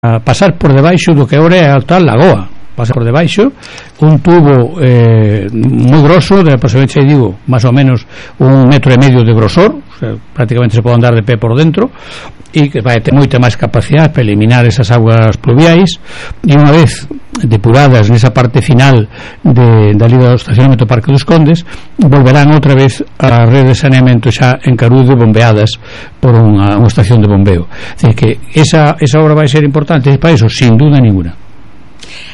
a pasar por debaixo do que agora é a tal lagoa. Pasa por debaixo un tubo moi grosso, de aproximadamente, digo, máis ou menos 1,5 metros de grosor, o sea, prácticamente se pode andar de pé por dentro, e que vai ter moita máis capacidade para eliminar esas aguas pluviais, e unha vez depuradas nesa parte final dali do estacionamento Parque dos Condes, volverán outra vez a rede de saneamento xa en Carude, bombeadas por unha estación de bombeo. É dicir, que esa obra vai ser importante para eso, sin duda ninguna.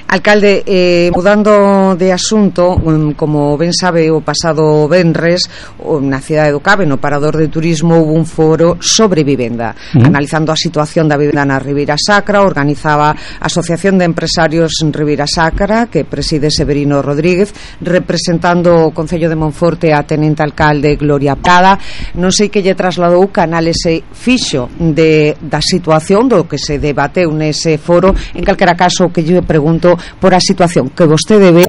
Alcalde, mudando de asunto, como ben sabe, o pasado venres na cidade do Cabe, no Parador de Turismo, houve un foro sobre vivenda, analizando a situación da vivenda na Ribeira Sacra. Organizaba a Asociación de Empresarios Ribeira Sacra, que preside Severino Rodríguez, representando o Concello de Monforte a tenente alcalde Gloria Prada. Non sei que lle trasladou canal ese fixo da situación do que se debateu nese foro. En calquera caso, que lle pregunto por a situación que vostede ve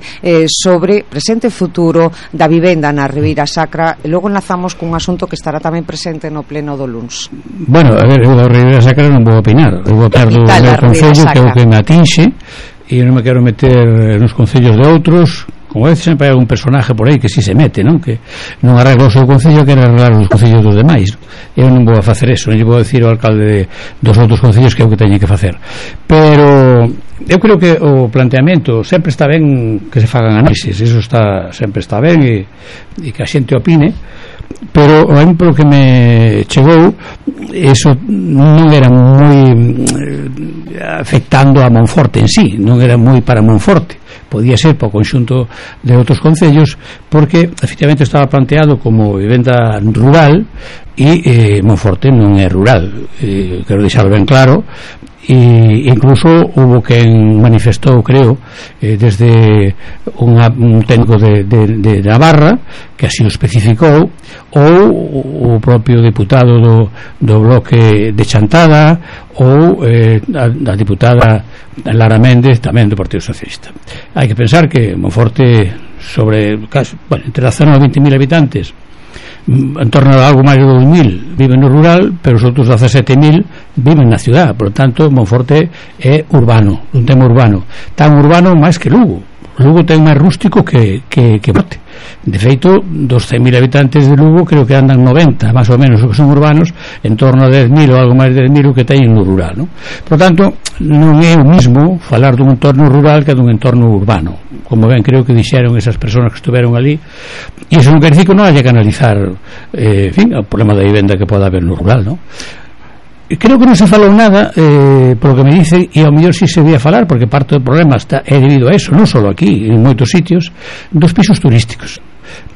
sobre presente e futuro da vivenda na Ribeira Sacra, e logo enlazamos cun asunto que estará tamén presente no pleno do luns. Bueno, a ver, eu da Ribeira Sacra non vou opinar, eu vou opinar do meu concello, que é o que me atinxe, e non me quero meter nos concellos de outros. Como veces sempre hai algún personaje por aí que si se mete, non? Que non arregla o seu concello, quere arreglar os concellos dos demais. Eu non vou a facer eso, non lle vou a decir ao alcalde dos outros concellos que é o que teñen que facer. Pero eu creo que o planteamento sempre está ben que se fagan análisis, eso sempre está ben, e que a xente opine, pero a mí polo que me chegou, eso non era moi afectando a Monforte en sí, non era moi para Monforte, podía ser para o conxunto de outros concellos, porque efectivamente estaba planteado como vivenda rural, e Monforte non é rural, quero deixarlo ben claro. E incluso hubo quen manifestou, creo, desde un técnico de Navarra, que así o especificou, ou o propio deputado do bloque de Chantada, ou a diputada Lara Méndez, tamén do Partido Socialista. Hai que pensar que Monforte, entre a zona de 20.000 habitantes, en torno a algo máis de 2.000 viven no rural, pero os outros 17.000 viven na ciudad. Por lo tanto, Monforte é urbano, un tema urbano, tan urbano máis que Lugo. Lugo ten máis rústico que Monforte. De feito, dos 100.000 habitantes de Lugo, creo que andan 90 máis ou menos o que son urbanos, en torno a 10.000 ou algo máis de 10.000 o que teñen no rural, non? Por tanto, non é o mismo falar dun entorno rural que dun entorno urbano, como ben creo que dixeron esas persoas que estuveron ali. E iso non quer dicir que non haya que analizar o problema da vivenda que pode haber no rural, non? Creo que non se falou nada, por lo que me dicen, e ao mellor si se debía falar, porque parte do problema é debido a eso, non só aquí, en moitos sitios, dos pisos turísticos,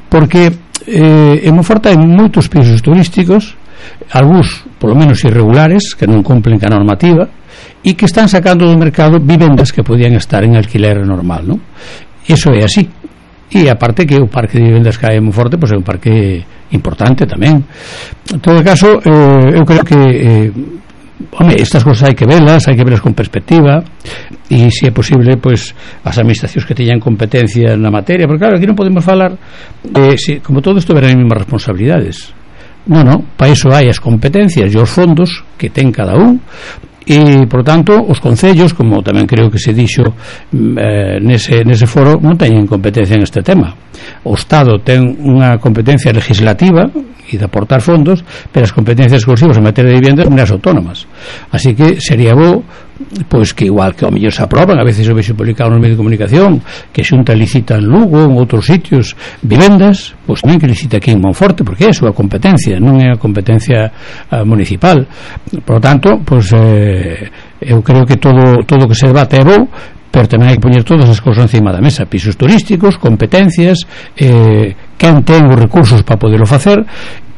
porque en Monforte hai moitos pisos turísticos, algúns polo menos irregulares, que non cumplen ca normativa, e que están sacando do mercado vivendas que podían estar en alquiler normal, non? Iso é así. E aparte que o parque de vivendas que hai en Monforte é un parque importante tamén. En todo caso, eu creo que estas cosas hai que velas con perspectiva, e se é posible, as administracións que teñan competencia na materia, porque claro, aquí non podemos falar como todo isto verán as mesmas responsabilidades. Non, para iso hai as competencias e os fondos que ten cada un, e, por tanto, os concellos, como tamén creo que se dixo nese foro, non teñen competencia en este tema. O Estado ten unha competencia legislativa e de aportar fondos, pero as competencias exclusivas en materia de viviendas son as autónomas. Así que sería bo que igual que ao mellor se aproban, a veces o vexo publicado nos medios de comunicación, que Xunta licita en Lugo, en outros sitios, vivendas, tamén que licita aquí en Monforte, porque é a súa competencia, non é a competencia municipal. Por lo tanto, eu creo que todo que se debate é bo, pero tamén hai que poñer todas as cousas encima da mesa: pisos turísticos, competencias, quen ten os recursos para poderlo facer,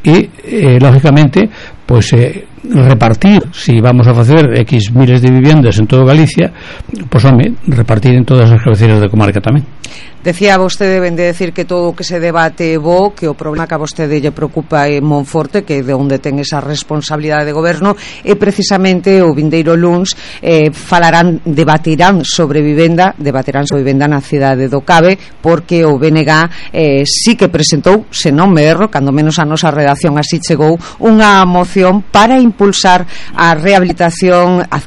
e lógicamente repartir, si vamos a facer X miles de viviendas en todo Galicia, repartir en todas as cabeceiras de comarca tamén. Decía vostede, ben de decir que todo o que se debate é bo, que o problema que a vostede lle preocupa é Monforte, que é de onde ten esa responsabilidade de goberno, e precisamente o vindeiro luns debatirán sobre vivenda na cidade do Cabe, porque o BNG sí que presentou, se non me erro, cando menos a nosa redacción así chegou, unha moción para impulsar a rehabilitación,